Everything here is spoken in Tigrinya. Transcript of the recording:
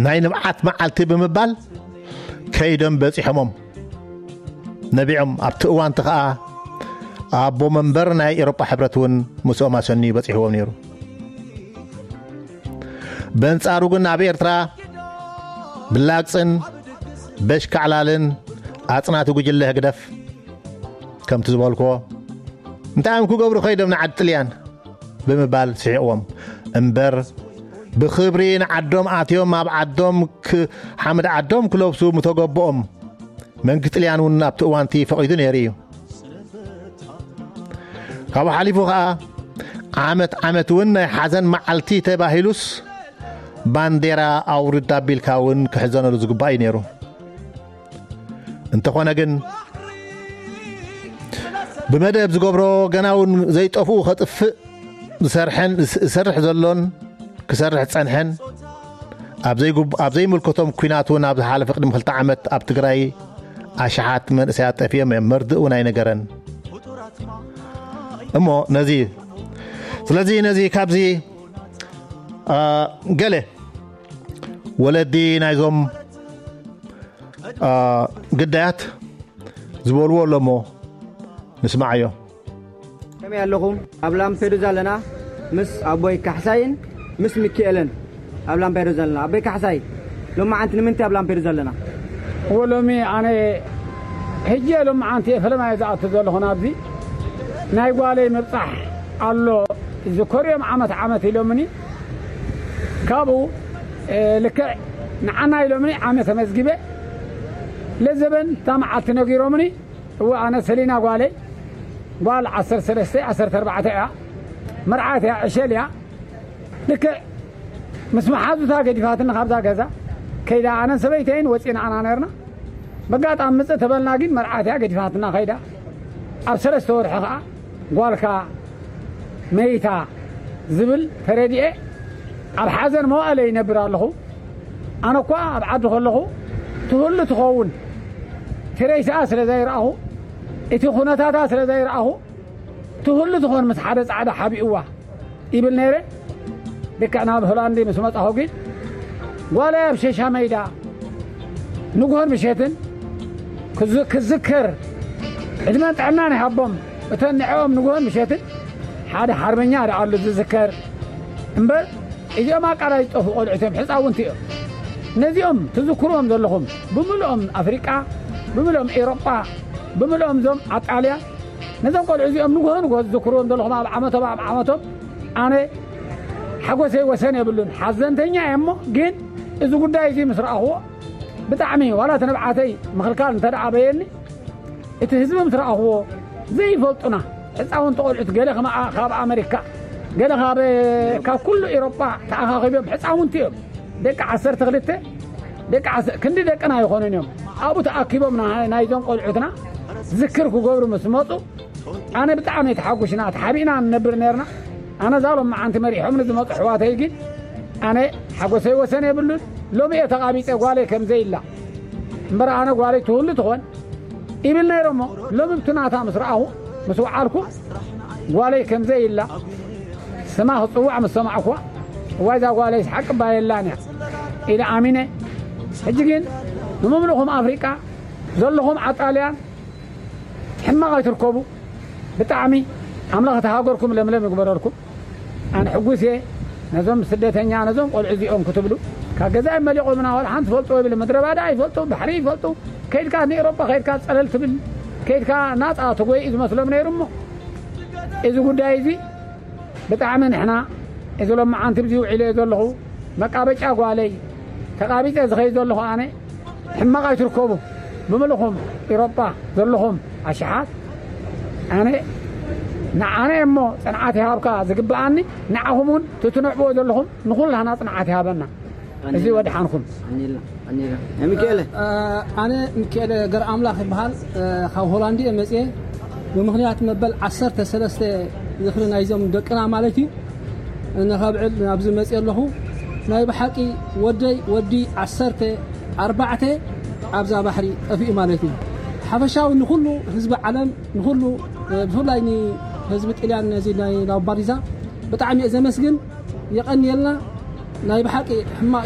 ናይ ንብዓት መዓልቲ ብምባል ከይዶም በጺሖሞም ነቢዖም። ኣብቲ እዋንቲ ኸኣ ኣቦ መንበር ናይ ኤሮጳ ሕብረት እውን ምስኦም ኣሰንዩ በጺሕዎም ነይሩ። በንጻሩ ግን ኣብ ኤርትራ ብላግጽን በሽካዕላልን ኣጽናቲ ጉጅለ ህግደፍ ከምቲ ዝበልክዎ እንታይ እዮም ክገብሩ ከይዶም ንዓዲ ጥልያን ብምባል ስሒቕዎም እምበር ብኽብሪ ንዓዶም ኣትዮም ኣብ ዓዶም ሓምድ ዓዶም ክለብሱ ምተገበኦም መንግስቲ ጥልያን እውን ኣብቲ እዋንቲ ፈቒዱ ነይሩ እዩ። ካብኡ ሓሊፉ ኸዓ ዓመት ዓመት እውን ናይ ሓዘን መዓልቲ ተባሂሉስ ባንዴራ ኣውርድ ኣቢልካ እውን ክሕዘነሉ ዝግባእ እዩ ነይሩ። እንተኾነ ግን ብመደብ ዝገብሮ ገና እውን ዘይጠፍኡ ከጥፍእ ዝሰርሐን ዝሰርሕ ዘሎን ክሰርሕ ዝጸንሐን ኣብ ዘይምልከቶም ኲናት እውን ኣብ ዝሓለፈ ቅድሚ ክልተ ዓመት ኣብ ትግራይ ኣሽሓት መንእሰያት ጠፊኦም እዮም። መርድእ እውን ኣይነገረን። እሞ ነዚ ስለዚ ነዚ ካብዚ ገለ ወለዲ ናይዞም ግዳያት ዝበልዎ ኣሎ እሞ ንስማዓዮ። ከመይ ኣለኹም? ኣብ ላምፔዱዛ ኣለና ምስ ኣቦይ ካሕሳይን ምስ ሚኪኤልን ኣብ ላምፔዱዛ ኣለና። ኣቦይ ካሕሳይ፣ ሎማዓንቲ ንምንታይ ኣብ ላምፔዱዛ ኣለና? እወ፣ ሎሚ ኣነ ሕጂ ሎማዓንቲ እየ ፈለማ እየ ዝኣቱ ዘለኹ ናብዚ። ናይ ጓለይ ምብጻሕ ኣሎ ዝከርዮም ዓመት ዓመት ኢሎምኒ። ካብኡ ልክዕ ንዓና ኢሎምኒ ዓመት ተመዝጊበ ለዘበን እታ መዓልቲ ነጊሮምኒ። እወ ኣነ ሰሊና ጓለይ ጓል ዓሰርተ ሰለስተ ዓሰርተ ኣርባዕተ እያ። መርዓት እያ ዕሸል እያ። ልክዕ ምስ መሓዙታ ገዲፋትና ካብዛ ገዛ ከይዳ ኣነን ሰበይተይን ወፂና ኣና ነርና። በጋጣሚ ምፅእ ተበልና ግን መርዓት እያ ገዲፋትና ከይዳ። ኣብ ሰለስተ ወርሒ ከዓ ጓልካ መይታ ዝብል ተረዲኤ ኣብ ሓዘን መዋእለ ይነብር ኣለኹ። ኣነ እኳ ኣብ ዓዲ ከለኹ ትህሉ ትኸውን እቲ ሬሳኣ ስለ ዘይረኣኹ እቲ ኩነታታ ስለ ዘይረኣኹ ትህሉ ትኾን ምስ ሓደ ጻዕዳ ሓቢእዋ ይብል ነይረ። ልክዕ ናብ ሆላንድ ምስ መጻኹ ግን ጓለይ ኣብ ሸሻ መይዳ ንግሆን ምሸትን ክዝከር ዕድመን ጥዕናን ይሃቦም። እተን ንዕኦም ንግሆን ምሸትን ሓደ ሓርበኛ ደኣሉ ዝዝከር እምበር እዚኦም ኣቃላይ ዝጠፉ ቆልዑት እዮም፣ ሕፃውንቲ እዮም። ነዚኦም ትዝክርዎም ዘለኹም ብምልኦም ኣፍሪቃ፣ ብምልኦም ኤሮጳ፣ ብምልኦም እዞም ኣጣልያ ነዞም ቆልዑ እዚኦም ንግሆ ንግሆ ዝዝክርዎም ዘለኹም ኣብ ዓመቶም ኣብ ዓመቶም ኣነ ሓጎሰይ ወሰን የብሉን። ሓዘንተኛ እየ እሞ ግን እዚ ጉዳይ እዚ ምስ ረኣኽዎ ብጣዕሚ ዋላ እቲ ንብዓተይ ምኽልካል እንተ ደኣ በየኒ እቲ ህዝቢ ምስ ረኣኽዎ ዘይፈልጡና ሕፃውንቲ ቆልዑት ገለ ከማ ካብ ኣመሪካ ገለ ካብ ካብ ኩሉ ኤሮጳ ተኣኻኺቦም ሕፃውንቲ እዮም። ደቂ ዓሰርተ ክልተ ደቂ ዓስ- ክንዲ ደቅና ይኾኑን እዮም። ኣብኡ ተኣኪቦም ና- ናይዞም ቆልዑትና ዝክር ክገብሩ ምስ መፁ ኣነ ብጣዕሚ ተሓጉሽና ተሓቢእና ንነብር ነርና። ኣነ እዛ ሎም መዓንቲ መሪሖም ንዝመፁ ኣሕዋተይ ግን ኣነ ሓጎሰይ ወሰን የብሉን። ሎሚ እየ ተቓቢፀ ጓለይ ከምዘይ ኢላ እምበር ኣነ ጓለይ ትህሉ ትኾን ይብል ነይረ እሞ ሎሚ ብቲ ናታ ምስ ረኣኹ ምስ ወዓልኩ ጓለይ ከምዘይ ኢላ ስማ ክፅዋዕ ምስ ሰማዕኩዋ እዋይ እዛ ጓለይስ ሓቂ እባ የላን እያ ኢለ ኣሚነ። ሕጂ ግን ንምምልኹም ኣፍሪቃ ዘለኹም ዓጣልያን ሕማቕ ኣይትርከቡ። ብጣዕሚ ኣምላኽ እቲ ሃገርኩም ለምለም ይግበረልኩም። ኣነ ሕጉስ እየ ነዞም ስደተኛ ነዞም ቆልዑ እዚኦም ክትብሉ ካብ ገዛ መሊቖምና ዋላ ሓንቲ ፈልጥዎ ይብል ምድረ ባዳ ይፈልጡ ባሕሪ ይፈልጡ ከይድካ ንኤሮጳ ከይድካ ፀለል ትብል ከይድካ ናፃ ትጎይ እዩ ዝመስሎም ነይሩ እሞ እዚ ጉዳይ እዚ ብጣዕሚ ንሕና እዚ ሎማዓንቲ ብዚ ውዒለ እየ ዘለኹ መቃበጫ ጓለይ ተቃቢፀ ዝኸይድ ዘለኹ ኣነ ሕማቕ ኣይትርከቡ ብምልኹም ኤሮጳ ዘለኹም ኣሽሓት ኣነ ንዓነ እሞ ፅንዓት ይሃብካ ዝግብኣኒ ንዓኹም እውን ትትንዕብዎ ዘለኹም ንኹላህና ፅንዓት ይሃበና እዚ ወድሓንኩም ሚካኤለ ኣነ ሚካኤለ ገር ኣምላኽ ይበሃል ካብ ሆላንድ እየ መፅየ ብምኽንያት መበል ዓሰርተ ሰለስተ ዝኽሪ ናይዞም ደቅና ማለት እዩ ነኸብዕል ናብዚ መፅየ ኣለኹ ናይ ብሓቂ ወደይ ወዲ ዓሰርተ ኣርባዕተ ኣብዛ ባሕሪ ጠፊኡ ማለት እዩ ሓፈሻዊ ንኩሉ ህዝቢ ዓለም ንኩሉ ብፍላይ ንህዝቢ ጥልያን ነዚ ናይ ላምባዲዛ ብጣዕሚ እየ ዘመስግን የቐንየልና ናይ ብሓቂ ሕማቕ